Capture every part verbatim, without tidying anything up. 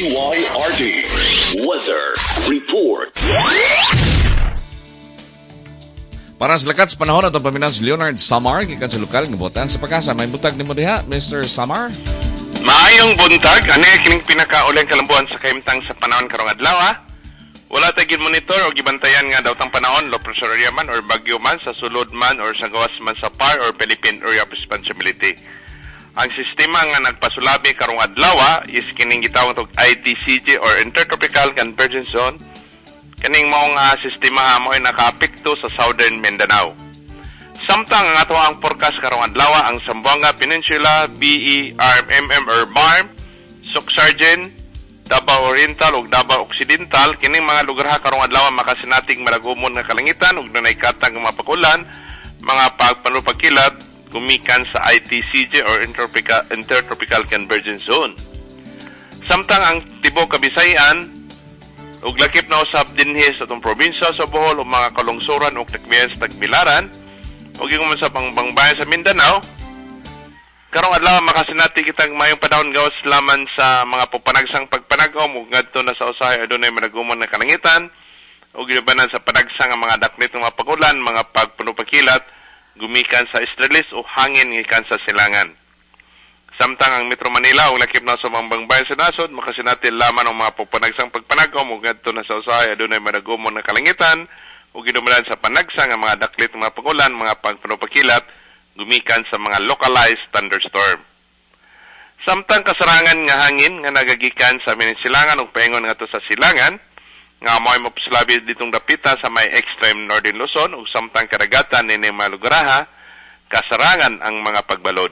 D Y R D Weather Report. Para sa lakat sa panahon atong paminaw si Leonard Samar gikan sa lokal nga buotan sa PAGASA. May buntag nimo diha, Mister Samar. Maayong buntag, ani kining pinakauleng kalambuan sa kahimtang sa panahon karong adlaw. Ah. Wala tay monitor o gibantayan nga daw tang panahon, low pressure area man or bagyo man sa sulod man or sa gawas man sa P A R or Philippine Area of Responsibility. Ang sistema nga nagpasulabi karong adlaw is kining gitawag og I T C J or Intertropical Convergence Zone. Kaning maong uh, sistema mo ay nakaapekto sa Southern Mindanao. Samtang ang ato ang forecast karong adlaw, ang Zamboanga Peninsula, B E, R M M or BARMM, Soccsksargen, Davao Oriental ug Davao Occidental, kining mga lugar ha karong adlaw makasinatig malagumon nga kalangitan ug dunay katag nga mapakulan, mga pagpanupagkilat gumikan sa I T C J or Intertropical, Intertropical Convergence Zone. Samtang ang tibuok Kabisayan ug lakip na usab dinhi sa atong probinsya sa Bohol ug mga kalungsuran ug takbiyan sa Tagbilaran ug ingon man sa Bangbayan sa Mindanao, karong adlaw makasinati kitang mayong panahon gawas laman sa mga pupanagsang pagpanag-om ug ngadto na sa usahay adunay malagumon na kalangitan ug gibanan sa panagsang nga mga daklit ng mga pagulan, mga pagpunupakilat gumikan sa easterlies o hangin gikan sa silangan. Samtang ang Metro Manila ug lakip na sa mga bangbayan sa nasod makasinati laman ang mga pupanagsang pagpanag-om ug ngadto na sa usahay adunay malagumon na kalangitan ug gidumalan sa panagsang nga mga daklit ng mga pagulan, mga pagpunupakilat gumikan sa mga localized thunderstorm. Samtang kasarangan nga hangin nga nagagikan sa silangan ug paingon ngadto sa silangan nga mo'y mapasulabi ditong dapita sa may extreme northern Luzon ug samtang kadagatan nini mga lugaraha kasarangan ang mga pagbalod.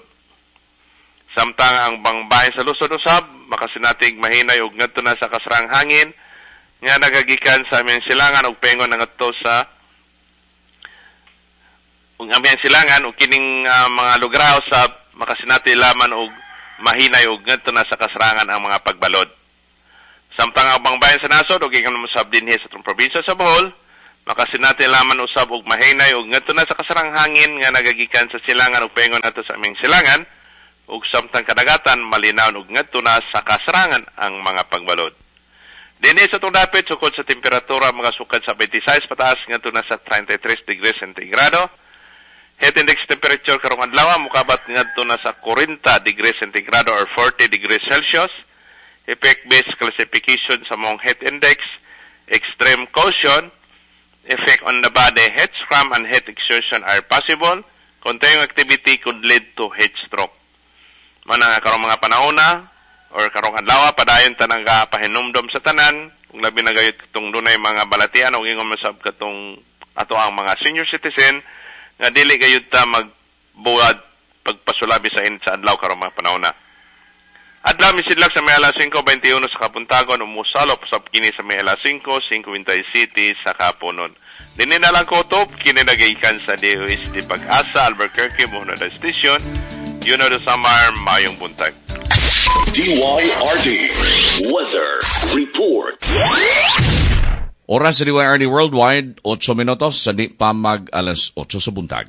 Samtang ang bangbahin sa Luzon usab makasinatig mahinay ug ngadto na sa kasarang hangin nga nagagikan sa aming silangan ug paingon ngadto sa ug aming silangan ug kining uh, mga lugar usab makasinati laman og mahinay ug ngadto na sa kasarangan ang mga pagbalod. Samtang ang bangbayan sa nasod ug ingon usab dinhi sa atong probinsya sa Bohol makasinati laman usab og mahinay ug ngadto na sa kasarang hangin nga nagagikan sa silangan ug paingon nato sa aming silangan ug samtang kadagatan malinaw ug ngadto na sa kasarangan ang mga pagbalod. Dinhi sa itong dapit, sukod sa temperatura mga sukad sa twenty-six pataas ngadto na sa thirty-three degrees centigrado. Heat index temperature karong adlaw mukabat ngadto na sa forty degrees centigrado or forty degrees Celsius. Effect-based classification sa mong heat index, extreme caution, effect on the body, heat cramp and heat exhaustion are possible. Continuing activity could lead to heat stroke. Mana nga karong mga panahona or karong adlaw padayon tanang pahinumdom sa tanan kung labi na gayud katong dunay mga balatian o ingon masab katong ato ang mga senior citizen nga dili gayud ta magbuhat pagpasulabi sa init sa adlaw karong mga panahona. Adlaw misidlak sa may alas singko twenty-one sa Kapuntagon, umusalop sa kini sa may alas singko singkwenta siyete sa Kapunon. Dinhi na lang ko utob, kini nagaikan sa D O S T PAGASA, Albuquerque, Bohol Station. Leonardo Samar, mayong buntag. D Y R D Weather Report. Oras sa D Y R D Worldwide, otso minutos sa di pa mag alas otso sa buntag.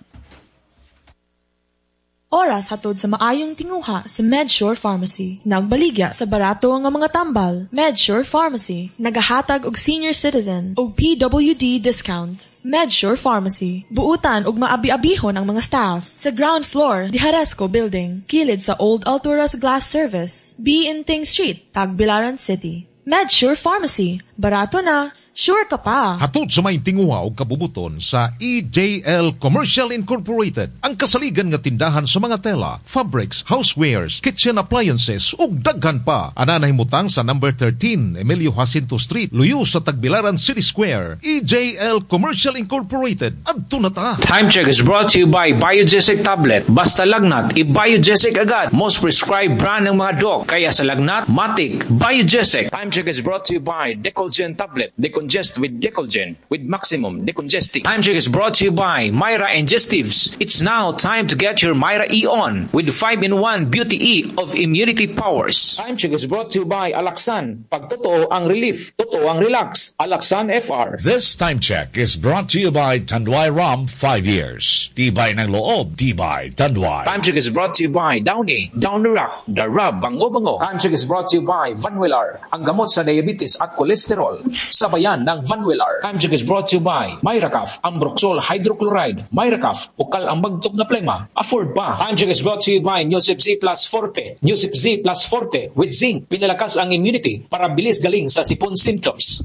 Oras hatod sa maayong tinguha sa MedSure Pharmacy. Nagbaligya sa barato nga mga tambal. MedSure Pharmacy. Nagahatag og senior citizen og P W D discount. MedSure Pharmacy. Buutan og maabi-abihon ang mga staff. Sa ground floor, Diharesco Building. Kilid sa Old Alturas Glass Service. B. Inting Street, Tagbilaran City. MedSure Pharmacy. Barato na, sure ka pa. Hatod sa may tinguha og kabubuton sa E J L Commercial Incorporated, ang kasaligan nga tindahan sa mga tela, fabrics, housewares, kitchen appliances ug daghan pa. Ana nahimutang sa number thirteen Emilio Jacinto Street, luyo sa Tagbilaran City Square. E J L Commercial Incorporated. Adto na ta. Time Check is brought to you by Biogesic Tablet. Basta lagnat, i-Biogesic agad. Most prescribed brand ng mga doc. Kaya sa lagnat, matik, Biogesic. Time Check is brought to you by Decolgen Tablet. Decongestant Decongest with Decolgen with maximum decongesting. Time check is brought to you by Myra Ingestives. It's now time to get your Myra E on with five in one Beauty E of Immunity Powers. Time check is brought to you by Alaxan. Pag totoo ang relief, totoo ang relax. Alaxan F R. This time check is brought to you by Tanduay Rum five years. Tibay ng loob, tibay Tanduay. Time check is brought to you by Downy, Downy Rock, The Rub, Bango Bango. Time check is brought to you by Vanwelar, ang gamot sa diabetes at cholesterol. Sabayan ng Vanwelar. Time check is brought to you by Myracaf, Ambroxol Hydrochloride. Myracaf, ukal ang bagtok na plema. Afford pa. Time check is brought to you by Newsip Z Plus Forte. Newsip Z Plus Forte with zinc. Pinalakas ang immunity para bilis galing sa sipon symptoms.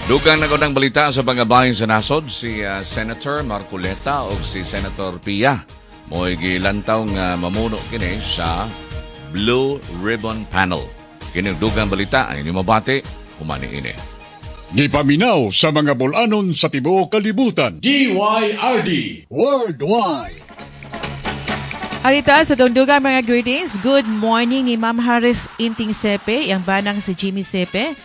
Dugang nagunang balita sa pangabahin sa nasod, si uh, Senator Marcoleta o si Senator Pia mo'y gilantaw nga mamuno kini sa Blue Ribbon Panel. Kini dugang balita ay inyong mabati humani ini. Gipaminaw sa mga bulanon sa tibuok kalibutan. D Y R D Worldwide. Arita sa dungdugan mga greetings. Good morning ni Ma'am Harith Inting Sepe, yang banang si Jimmy Sepe,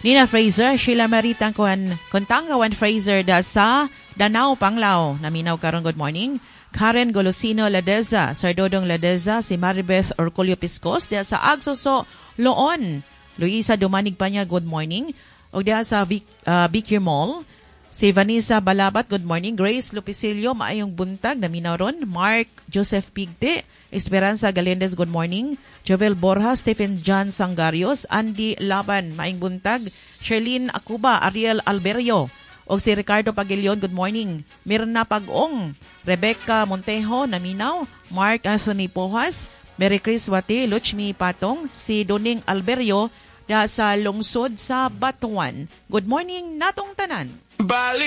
Nina Fraser, Sheila Marie Tangkuan, Kontangawan Fraser da sa Danao Panglao. Naminaw karon, good morning. Karen Golosino Ladeza, Sir Dodong Ladeza, si Maribeth Orcolio Piscos da sa Agsoso Loon. Luisa Dumanig pa niya, good morning. O diha sa Vic, uh, B Q Mall, si Vanessa Balabat, good morning. Grace Lupicillo, maayong buntag, naminaw ron. Mark Joseph Pigte, Esperanza Galendez, good morning. Jovel Borja, Stephen John Sangarios, Andy Laban, maayong buntag. Sherlyn Akuba, Ariel Alberio, o si Ricardo Pagilion, good morning. Mirna Pagong, Rebecca Montejo, naminaw. Mark Anthony Pojas, Mary Chris Wati, Luchmi Patong, si Doning Alberio, da sa lungsod sa Batuan. Good morning natong tanan. Bali